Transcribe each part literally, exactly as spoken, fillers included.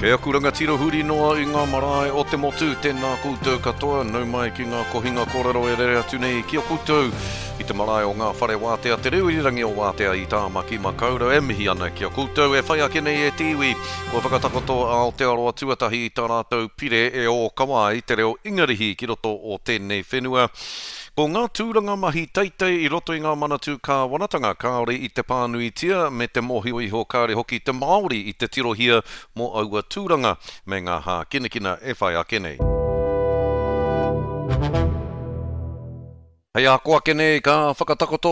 E aku rangatira huri noa i ngā marae o te motu, tēnā koutou katoa, nau mai ki ngā kohinga kōrero e rere atu nei ki a koutou i te marae o ngā whare wātea, te reo irirangi o Wātea i Tāmaki Makaurau e mihi ana ki a koutou e whai ake nei e te iwi kua whakatakoto a Aotearoa tuatahi i tā rātou pire e ōkawa ai te reo Ingarihi ki roto o tēnei whenua. Ko ngā tūranga mahi teitei i roto i ngā manatū kāwanatanga kāore i te pānuitia me te mōhio iho kāore hoki te Māori i te tirohia mō aua tūranga me ngā hākinakina e whai ake nei. Hei a ko ake nei ka whakatakoto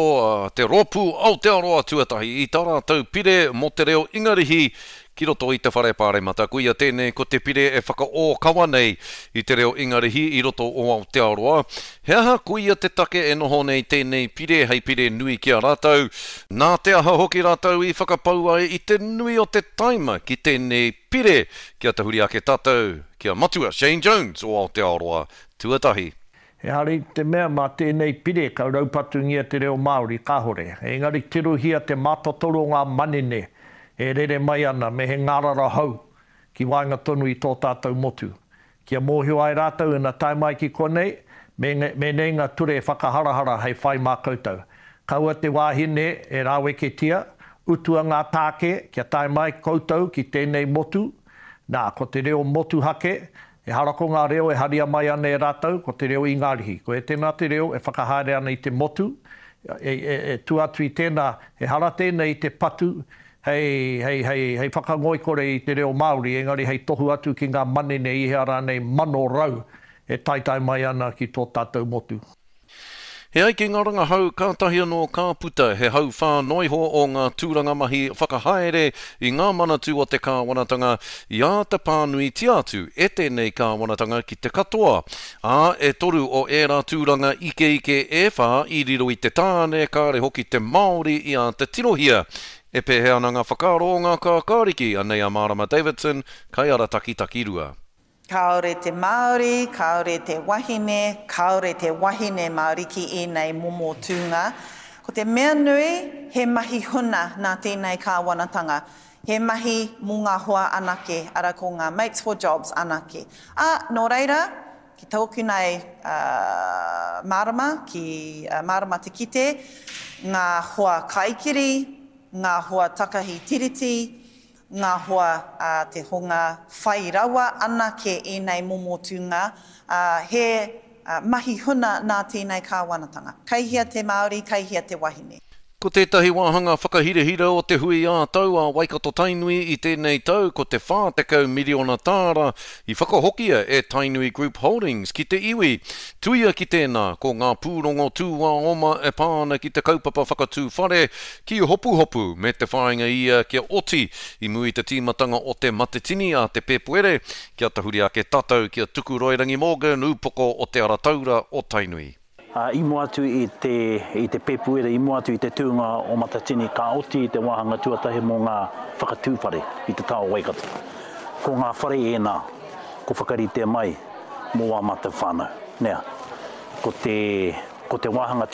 te rōpū Aotearoa tuatahi i tā rātou pire mō te reo Ingarihi ki roto i te whare pāremata. Koia tēnei ko te pire e whakaōkawa nei i te reo Ingarihi i roto o Aotearoa. He aha koia te take e noho nei tēnei pire hei pire nui ki a rātou? Nā te aha hoki rātou i whakapau ai i te nui o te taima ki tēnei pire? Kia tahuri ake tātou, kia matua Shane Jones o Aotearoa tuatahi. Ehara i te mea mā tēnei pire ka raupatungia te reo Māori, kāhore. Engari tirohia te mātotoru o ngā manene e rere mai ana me he ngārara hou ki waenga tonu i tō tātou motu. Kia mōhio ai rātou ina tae mai ki konei, me, me nei ngā ture whakaharahara hei whai mā koutou. Kaua te wāhine e rāweketia, utua ngā tāke kia tae mai koutou ki tēnei motu, nā, ko te reo motuhake, Ehara ko ngā reo e haria mai ana e rātou, ko te reo Ingarihi. Ko e tēnā te reo e whakahaere ana i te motu, e, e, e tu atu i tēnā, ehara tēnei i te patu hei, hei, hei, hei whakangoikore i te reo Māori, engari hei tohu atu ki ngā manene i hea rānei mano rau e taetae mai ana ki tō tātou motu. He ai ki ngā rangahau kātahi anō ka puta he hauwhā noa iho o ngā tūranga mahi whakahaere i ngā manatū o te kāwanatanga i āta pānuitia atu e tēnei kāwanatanga ki te katoa. Ā, e toru o ērā tūranga ikeike e whā i riro i te tāne kāre hoki te Māori i āta tirohia. E pēhea ana ngā whakaaro o ngā kākāriki, anei a Marama Davidson, kaiarataki takirua. Kāore te Māori, kāore te wahine, kāore te wahine Māori ki ēnei momo tūnga. Ko te mea nui, he mahi huna nā tēnei kāwanatanga. He mahi mō ngā hoa anake, ara ko ngā Mates for Jobs anake. Ā, nō reira, ki tōku nei uh, mārama, ki uh, mārama te kite, ngā hoa kaikiri, ngā hoa takahi tiriti, ngā hoa a te hunga whai rawa anake ēnei momo tūnga, uh, he uh, mahi huna nā tēnei kāwanatanga. Kei hea te Māori, kei hea te wahine. Ko tētahi wāhanga whakahirahira o te hui ā-tau a Waikato Tainui i tēnei tau ko te whā tekau miriona tāra i whakahokia e Tainui Group Holdings ki te iwi. Tuia ki tēnā, ko ngā pūrongo tūāoma e pā ana ki te kaupapa whakatū whare ki Hopuhopu me te whāinga ia kia oti i mua i te tīmatanga o te Matetini a te Pēpuere, kia tahuri ake tātou ki a Tukuroirangi Morgan, ūpoko o te Arataura o Tainui. Uh, i mua atu i te, i te Pēpuere, i mua atu i te tūnga o Matatini, ka oti i te wāhanga tuatahi mō ngā whakatū whare i te taha o Waikato. Ko ngā whare ēnā, ko whakarite mai mō wā mātou whānau. Nea, ko te, ko te wāhanga